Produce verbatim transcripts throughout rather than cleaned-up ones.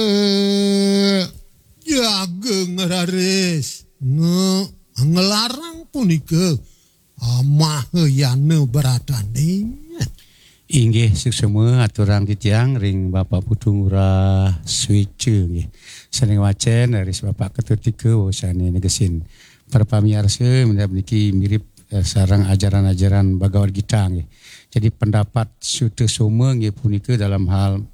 Eh, jaga ngeraris. Nge, ngelarang punika, ah, mahayana bradane. Inggih, suksma aturang titiang ring Bapak Putu Ngurah Sweca nggih. Sané ngwacén raris Bapak Ketut Ika, oh, sané negesin. Para pamiarsa, minab niki mirip, eh, sareng ajaran-ajaran Bhagavad Gita nggih. Jadi pendapat Sutasoma nggih punika dalam hal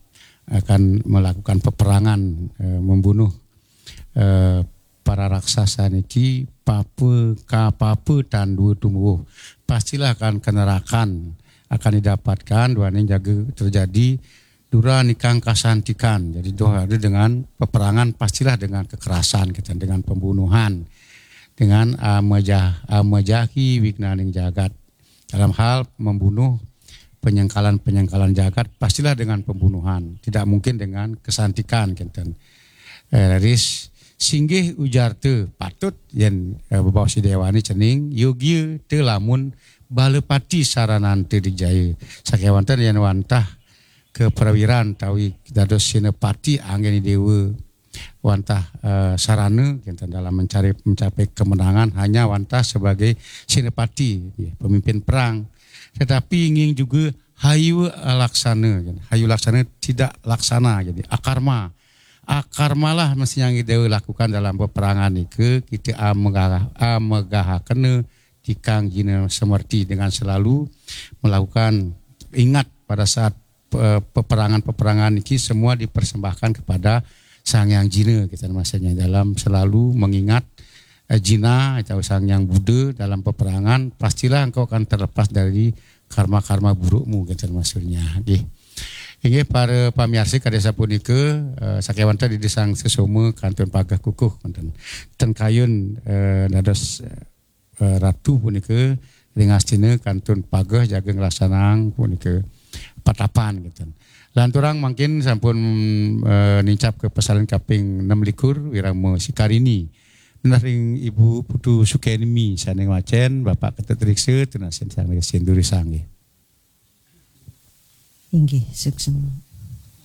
akan melakukan peperangan, eh, membunuh, eh, para raksasa niki, papa ka papa tan dua tumuwuh. Pastilah akan kenerakan akan didapatkan, duaning jaga terjadi dura nikang kasantikan. Jadi doh ada dengan peperangan, pastilah dengan kekerasan kita, dengan pembunuhan, dengan amajah amajahi wignaning jagat. Dalam hal membunuh penyengkalan-penyengkalan jagat, pastilah dengan pembunuhan. Tidak mungkin dengan kesantikan, kenten. Eh, raris singgih ujarta patut yen, eh, bebaos Déwané cening, yogia ta lamun balapati sarananta dijaya. Sakéwanten yen wantah kaprawiran tawi dados senapati anggén déwa wantah, eh, sarana kenten dalam mencari, mencapai kemenangan hanya wantah sebagai senapati, ya, pemimpin perang. Tetapi ingin juga hayu laksana, ya, hayu laksana tidak laksana, jadi akarma. Akarmalah mesti yang kita lakukan dalam peperangan nika, kita amegah, amegahakena tikang jina semerti dengan selalu melakukan, ingat pada saat pe-, peperangan-peperangan niki semua dipersembahkan kepada Sang Hyang Jina, kita maksudnya dalam selalu mengingat, eh, Jina atau Sang Hyang Buddha dalam peperangan, pastilah engkau akan terlepas dari karma-karma burukmu, kita maksudnya. Nggih. Inggih para pamiarsa, kadi sapunika, eh, sakéwanten Ida Sang Sesoma kantun pageh kukuh wonten. Ten kayun, eh, dados, eh, ratu punika ring astina kantun pageh jaga nglaksanang punika patapan gitu. Lanturang mangkin sampun, eh, nincap ka pasalin kaping enam likur, Wirama Sikarini. Nunas ring Ibu Putu Sukenmi sané ngwacén, Bapak Ketut Riksa, tunasin sang Riksa Duri Sanggih. Inggih, suksma.